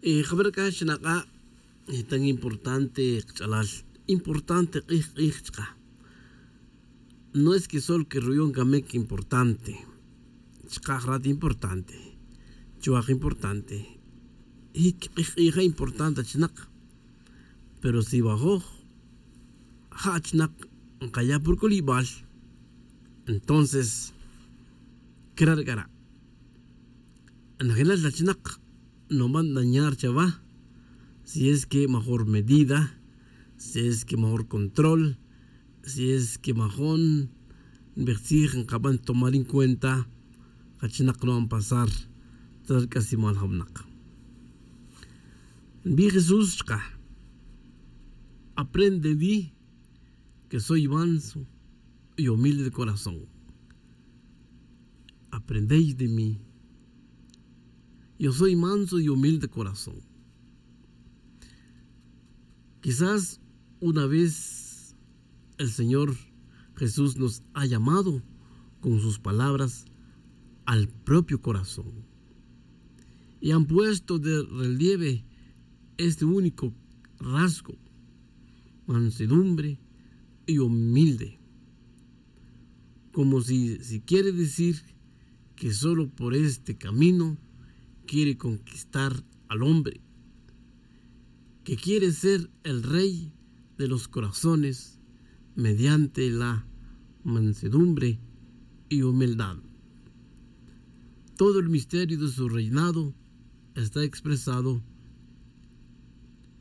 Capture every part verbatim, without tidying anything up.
Jabara' c'a xnak'a' tan importante kach'alal, importante k'ij k'ij chka. No es que solo que ruyon camic importante, chka' jrat importante, chuwak importante, y k'ij k'ija importante achinak. Pero si wajoj ja achinak nkaya' pur c'ulibal, entonces cra' ri c'ara'. Najinal achinak no van dañar chawa, si es que major medida, si es que major control, si es que majun nbij tzij nkaban tomar en cuenta kachinak no van pasar. Tras ri c'aslemal ja winak, nbij Jesús chka: Aprende de mí, que soy manso y humilde de corazón. Aprendéis de mí. Yo soy manso y humilde de corazón. Quizás una vez el Señor Jesús nos ha llamado con sus palabras al propio corazón y han puesto de relieve este único rasgo: mansedumbre y humilde. Como si, si quiere decir que solo por este camino quiere conquistar al hombre, que quiere ser el rey de los corazones mediante la mansedumbre y humildad. Todo el misterio de su reinado está expresado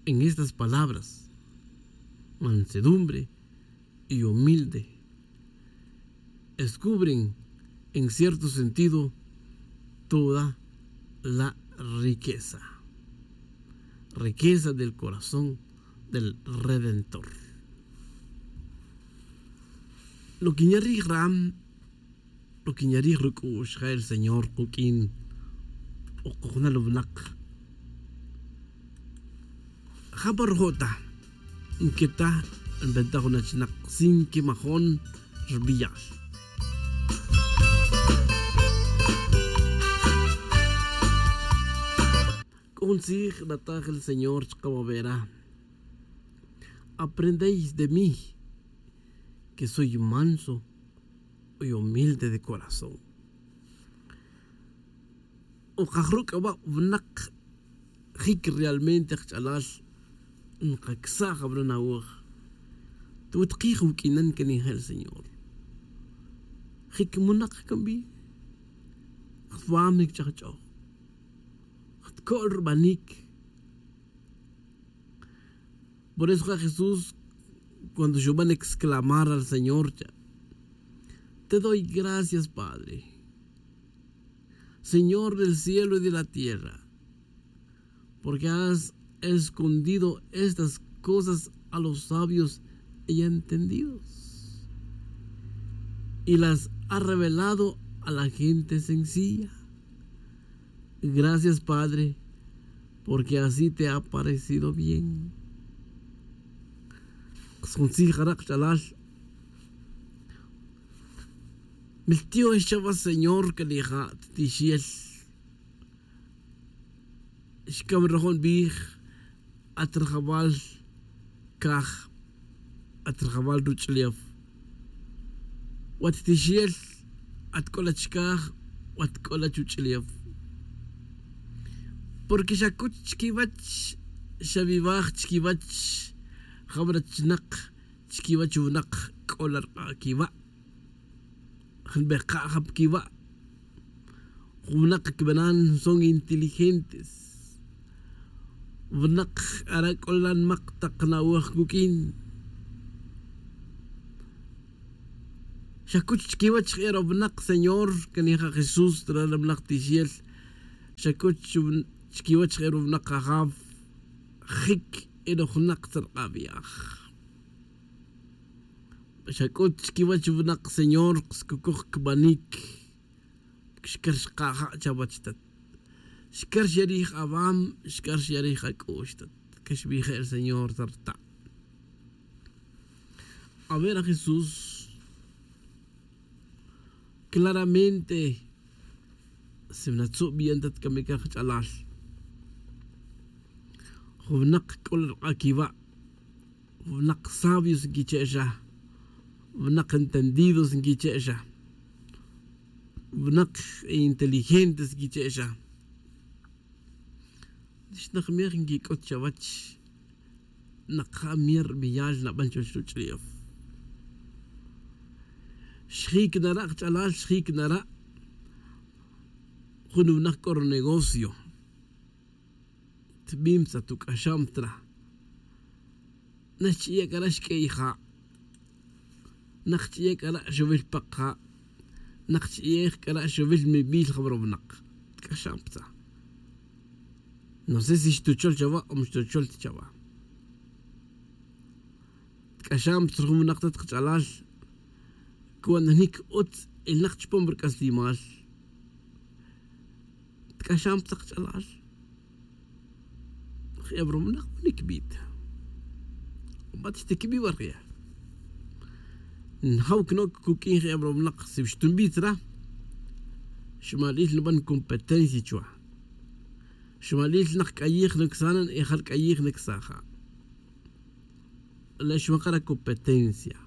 en estas palabras: mansedumbre y humilde. Descubren, en cierto sentido, toda la riqueza, riqueza del corazón del Redentor. Lo que ña rij ram, lo que ña rij ruc'u'x ja el Señor kuq'uin o kojnal winak. Ja pa rojo' ta nqueta nbenta jun achinak sin que majon rbiyal. C'o jun tzij nataj el Señor chka wawera: Aprendéis de mí, que soy manso y humilde de corazón. O kajruc'aba' winak jic realmente kach'alal nkacsa' jawra nawaj. Tawet kij wuq'uinan can ija el Señor. Jic munak can bi. Jtwam jic ch'ajch'oj. Jtco'l rbanic. Por eso ja Jesús, cuando xuban exclamar al Señor, te doy gracias, Padre, Señor del cielo y de la tierra, porque has escondido estas cosas a los sabios y entendidos, y las has revelado a la gente sencilla. Gracias, Padre, porque así te ha parecido bien. Kas jun tzij jara' kach'alal. Miltiox chawa Señor can ija' titixel. Xcam ri rajo' nbij: At rajawal caj, at rajawal ruch'ulef. Wat tixel, at c'o la chicaj, wat c'o la chuch'ulef. Porque xacuch chiquiwech, xaviwaj chiquiwech jawra chinak, chiquiwech winak c'o la rk'a' quiwa'. Nbeka' ja pa quiwa'. Jun winak quibana' son inteligentes. Winak ara' c'o la nmak tak nawaj cuq'uin. Xacuch chiquiwech je' ro winak, Señor, can ija' Jesús, ral ri winak tixel. Xacuch chiquiwech je' ro winak, Ajaf. Jic e ro junak tzark'a' viaj. Xac'ut chiquiwech winak, Señor, xcucoj quibanic. Xcar xka' ja' chawech, tat. Xcar xya' rij awam, xcar xya' rij ac'u'x, tat. Caxbij je' ri Señor ta rta'. A ver, a Jesús claramente si natzub bien, tat, camic kach'alal. Winak c'o la rk'a' quiwa'. Winak sabios nquiche' xa. Winak entendidos nquiche' xa. Winak inteligentes nquiche' xa. Xnak miej nquic'ut chawech. Nak ja mier biyal naban chuwech ruch'ulef. Xjic nara' kach'alal, xjic nara'. Jun winak c'o runegocio. Tbim tza tuc'axam tra. Naxch'iye' c'a ra' xq'uey ja'. Naxch'iye' c'a ra' xovil pak ja'. Naxch'iye' c'a ra' xovil mibij jabrob nak. Tk'axam tza. No sé si xtuchol chawa o ma xtuchol ta chawa. Tk'axam tza jun winak tat kach'alal. Cuando jnic utz elnak chupam rc'aslimal. Tk'axam tza kach'alal. Jebrob nak winik bit. Bat xtiquibi warje. Njaw cnoc cuq'uin jebrob nak si xtumbit ra. Xmalil naban competencia chwa. Xmalil nak c'ayij nacsanan y jal c'ayij nacsaja'. La xwakara competencia.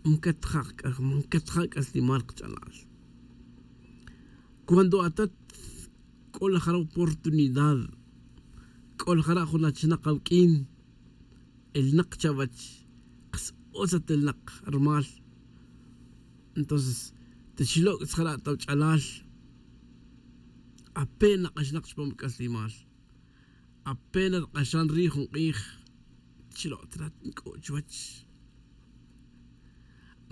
Mcatja' mcatja' c'aslimal kach'alal. Cuando atat c'o la jara' oportunidad. C'o la jara' jun achinak awq'uin. Elnak chawech. Kas utz at elnak rumal. Entonces taxloc' jara' tawch'alal. Apena k'axnak chupam c'aslimal. Apena rk'axan ri' jun k'ij. Chilo' trat nc'o' chuwech.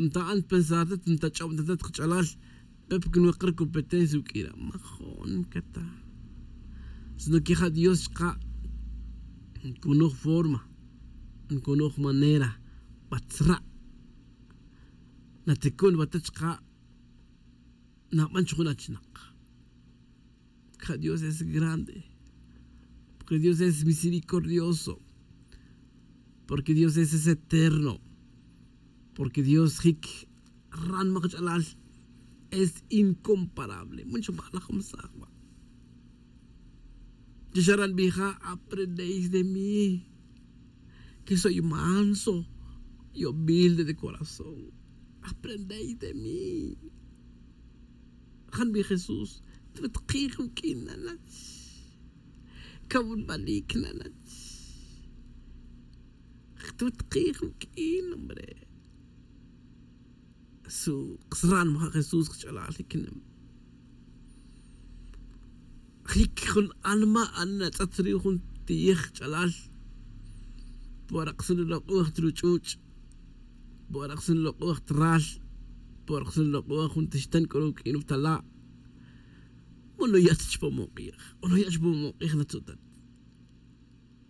Nta'an pensar tat ntach'ob ta tat kach'alal. Pe porque nwakar competencia uq'uira' majun cata. Sino que ja dios chka'. Ncunuj forma. Ncunuj manera. Batzra'. Naticun batat chka'. Naban chujun achinak. Porque dios es grande. Porque dios es misericordioso. Porque dios es eterno. Porque dios jic ran makch'alal. Es incomparable mucho balaj masaj ba'. Yo xaran bija aprendéis de mí. Que soy manso y humilde de corazón. Aprendéis de mí. Jan bi jesús. Twet kij wuk'in nanach. Kawun balik nanach. Twet kij wuk'in hombre. Su ksran maja' jesús kch'alal jiknem. Jic jun anma anatz'at ri jun tiyij ch'alal. Por aksun lok'oj truch'uch'. Por aksun lok'oj tral. Por aksun lok'oj jun tixtan k'o ruk'in rutala'. Mono ya' ta chupam ok'ij. Mono ya' chupam ok'ij natzutat.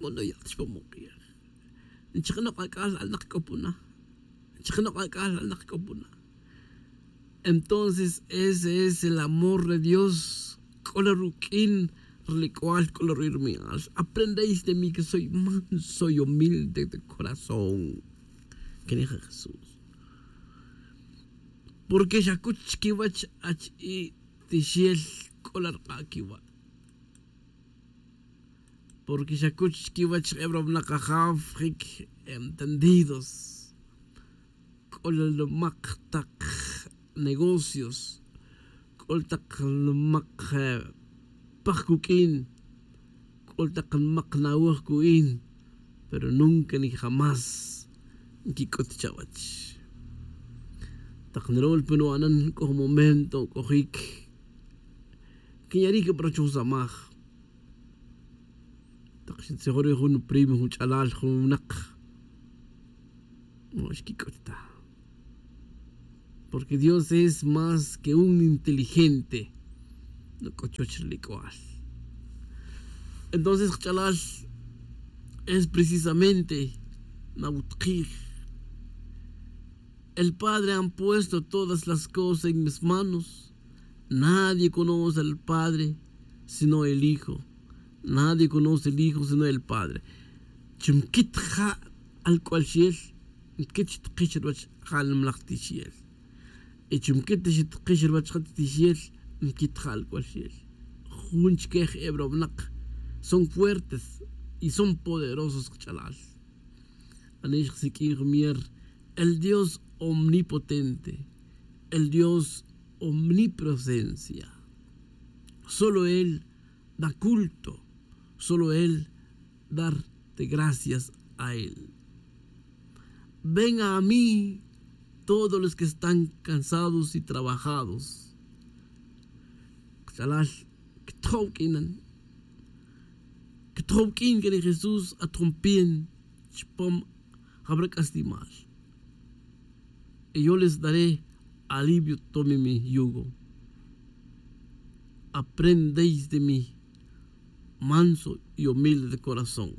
Mono ya' ta chupam ok'ij. Nchajnok ak'al alnak k'o puna. Nchajnok ak'al alnak k'o puna. Entonces ese es el amor de dios. C'o la ruq'uin. Relic'ual c'o la ruq'uin rumi'al aprendéis de mí que soy manso y humilde de corazón. Quenija jesús. Porque xacuch chiquiwech ach i tixel. C'o la rk'a' quiwa'. Porque xacuch chiquiwech jebrob nak ajaf jic entendidos. C'o la lumak tak negocios. C'o la tak lumak paj cuq'uin. C'o la tak lumak nawoj cu'in. Pero nunca ni jamás nquic'ut chawech. Tak nrol pe nu'anan c'o jun momento c'ojic. Quinya' ri' quibra' chuwsamaj. Tak xintzijon ri jun primo jun ch'alal jun winak. Ma xquic'ut ta. Porque dios es más que un inteligente. Noc'o chuwech ri lic'ual. Entonces kch'alal es precisamente nawutkij. El padre han puesto todas las cosas en mis manos. Nadie conoce al padre sino el hijo. Nadie conoce el hijo sino el padre. Chumquit ja' al c'ual xiel. Mquit xtikix ruwach ja' nimlaj tixiel. Y chumquit xtikix ruwach ja' tixiel. Mquit ja' al c'ual xiel. Jun chique jebra winak. son fuertes y son poderosos kach'alal. Anix jsiq'uin jumier el Dios omnipotente, el Dios omnipresencia. Solo él da culto, solo él darte gracias a él. Ven a mí todos los que están cansados y trabajados. Kachalal, ktjow k'inan. Ktjow k'in kene Jesús atjompien chpom jabra k'aslimal. Y yo les daré alivio, tome mi yugo. Aprendéis de mí, manso y humilde de corazón.